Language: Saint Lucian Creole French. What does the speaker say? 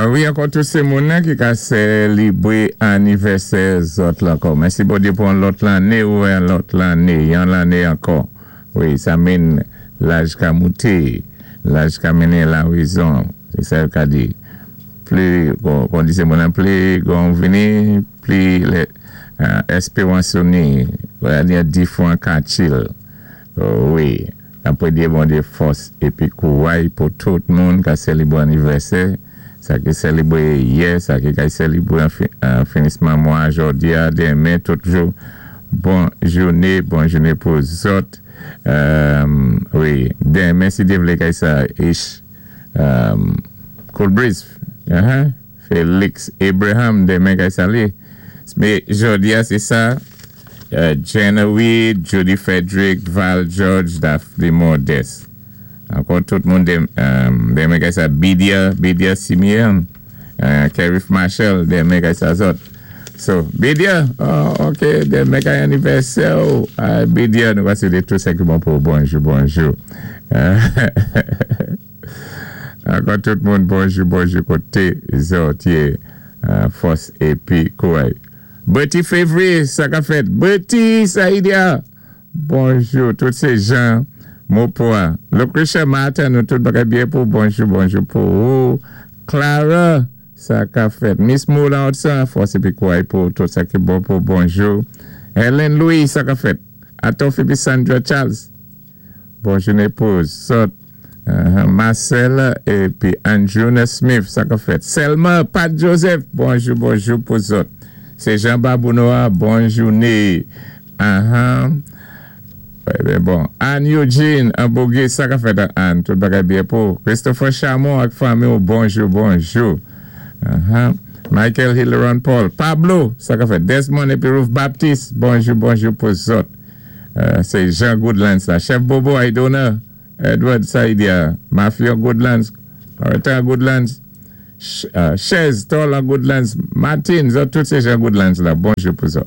Wi, ankò tout sé moun-nan ki ka sélibwé anivèsè zòt la ankò. Mèsi Bondyé pou yon lòt lanné ou yon lòt lanné, yon lanné ankò. Wi, sa mean laj ka mouté, laj ka mennen la wézon, sé sa yo ka di. Pli, kon di sé moun-nan pli gon vini, pli lè èspéwans ou ni, wè difwan ka chill. Wi, n ap pwédyé Bondyé fòs épi kouway pou tout moun ka sélibwé anivèsè, sa ki sélibwé yè, sa ki ka sélibwé an finisman mwa jòdi-a, denmen, tout jou. Bon jouné, bon jouné pou zòt. Wi, denmen si Dye vlé kay sa ish Cool Breeze, Felix Abraham, denmen kay sa li. Mé jòdi-a sé sa, Jenna Weed, Judy Frederick, Val George, Daphne Modeste. Ankò tout moun denmen kay sa Bidia, Bidia Simeon, Kerif Marshall, denmen kay sa zòt. So, Bidia, oh, ok, denmen kay anivèsè ou. Bidia, nou va swété tout sa ki bon pou bonjou, bonjou. Ankò tout moun bonjou, bonjou koté zòt yé, fòs épi kouway. Betty Février, sa ka fèt. Betty Saïdia, bonjou. Tout sé jan Mopoa. Lucretia Martin, nou tout bagay byen pou bonjou, bonjou pou ou. Clara, sa ka fèt. Miss Moula Otsan, fòs épi kouway pou tout sa ki bon pou bonjou. Helen Louis, sa ka fèt. Atof épi Sandra Charles. Bonjou pou zòt. Marcel épi Andrew Smith, sa ka fèt. Selma Pat Joseph, bonjou, bonjou pou zòt. Sé Jean Babounoa, bon jouné. Ben bon. Anne Eugene, an Bogué, sa ka fèt Anne, tout bagay byen pou. Christopher Chamon ak fanmi, bonjou, bonjou. Michael Hilleron Paul. Pablo, sa ka fèt. Desmond épi Ruth Baptiste, bonjou, bonjou pou zòt. Sé Jean Goodlands la. Chef Bobo Aidona, Edward Saidia, Mafia Goodlands, Loretta Goodlands, Chez Tol Goodlands, Martin, zòt tout sé Jean Goodlands la. Bonjou pou zòt.